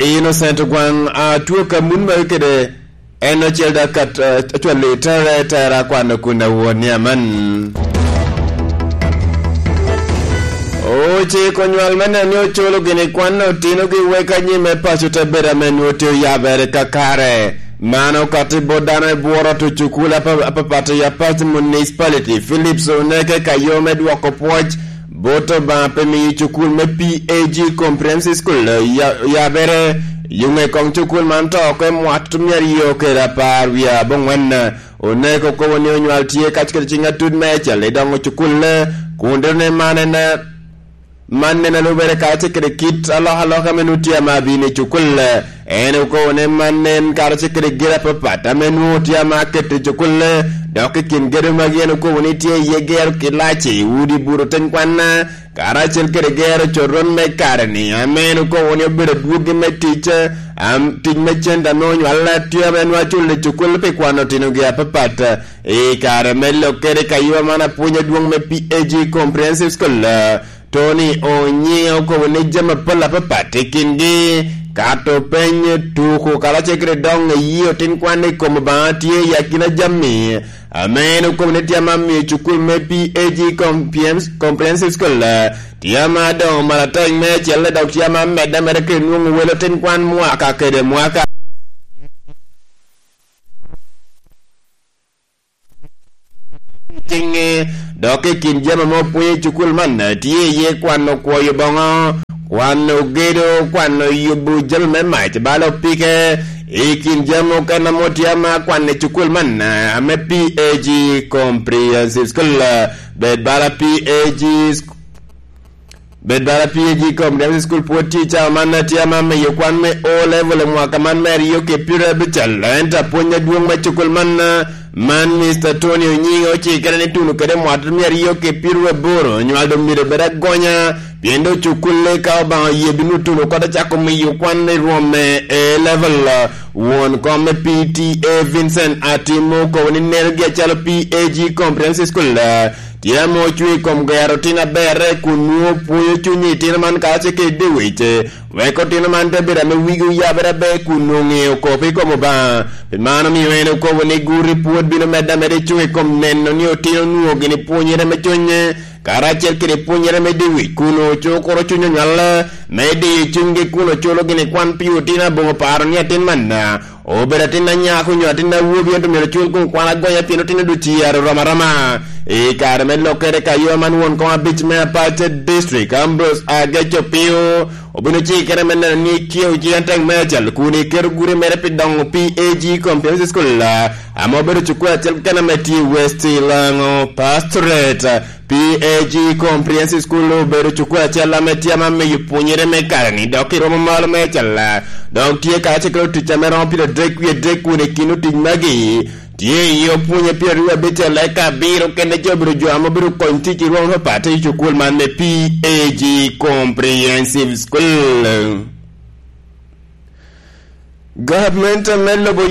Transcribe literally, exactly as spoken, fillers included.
Innocent Ogwaŋ, atwo ka mun magi kede en ocel da kat, eh, acwalo i tere, tera kwano kun awon ni aman. Ociko nywal me neno ni oculo gini kwan otinogi wek anyim me paco te bedo ame nwoŋo tye oyabere kakare. Mano kati bot dano i bworo to cukul apa-, apapat i Apac Municipality, Philips Oneke ka yo me dwoko pwoc bot Obaŋa pe miyo cukul me P A G Comprehensive School ya-, yabere. Yuŋe koŋ cukul man to oko i mwat myero yo kede apar wie aboŋwen. Oneko kobo ni onywal tye kac kede ciŋ atut me ecel i doŋo cukul, kun dero ne man en, man en alubere karacel kede kit alokaloka ame nwoŋo tye ama abino i cukul. En okobo ni man en karacel kede gire apapat ame nwoŋo tye ama aketo i cukul, dok i kin gedo magi en okobo ni tye iye gero kilaci, udi buto ten kwan, karacel kede gero coron me kare-ni, ame en okobo ni obedo adwogi me tic, am, tic me cente ame onywal tye ame nwoŋo aculo i cukul pi kwano otinogi apapat. I kare me lokkere ka yua man apwony adwoŋ me P A G Comprehensive School, Tony Onyiŋa okobo ni jami apol apapat i kingi, kato peny, tuko, karacel kede doŋ eyi otin kwan i kom Obaŋa tye i akina jami ame en okobo ni tye ama miyo cukul me P A G Comprehensive School, eh, tye ama doŋo maratac me acel, dok tye ama medde ameda kede nwoŋo welo otin kwan mwaka kede mwaka. Tiŋe, dok i kin jami ame opwonyo i cukul man, tye iye kwano kwoyo boŋo, kwano gedo, kwano yubo jami me mac bala opike. I kin jami okene ame otye ama kwano i cukul man, ame P A G Comprehensive School, bed bala P A G Bed bala P A G Comprehensive School pwod tye i cawa man, atye ama miyo kwan me O level i mwaka man me aryo ki pyerabicel, ento apwony adwoŋ me cukul man, man Mister Tony Onyiŋa ocikere ni tuno kede mwaka me aryo ki pyeraboro, nywal doŋ myero bed agonya, pien doŋ cukulle ka Obaŋa oye bino tuno kede cako miyo kwan i rwom me A level. Won kom me P T A Vincent Atimo okobo ni nenogi acalo P A G Comprehensive School, tye ame ocwe i kom gero tin aberre kun nwoŋo pwonyo cuny i itino man karacel kede dyewec, wek otino man te bedo ame wigi oyabere aber kun nwoŋo ŋeo kop i kom Obaŋa. Pi mano omio en okobo ni guri pwod bino medde ameda i cuŋ i kom neno ni otino nwoŋo gini pwonyere me cuny, karacel kede pwonyere me dyewec kun ocukuro cuny onywal me diyo cunygi kun oculo gini kwan pi otino aboŋo paro ni atin manna obedo atin anyako nyo atin awobi, ento myero cul kun kwan agonya pien otino duciyar oromo aroma. I kare me lokkere ka yo man won kom abic me Apac District, Ambrose Agec Opio, obino cikere me neno ni kiewo ci atek me acal kun iketo gure mere pi doŋo P A G Comprehensive School, ame obedo cukul acel keken ame tye i West Lango Pastorate. P A G Comprehensive School obedo cukul acel ame tye ame miyo pwonyere me kare-ni, dok iromo malo me acalla, dok tye karacel kede otic ame romo piero adek wie adek kun i kin otic magi tye iye opwonye piero aryo abicel, eka abiro kene jo obedo jo ame obedo kony tic i rwom apapat i cukul man me P A G Comprehensive School. Gavment me lobo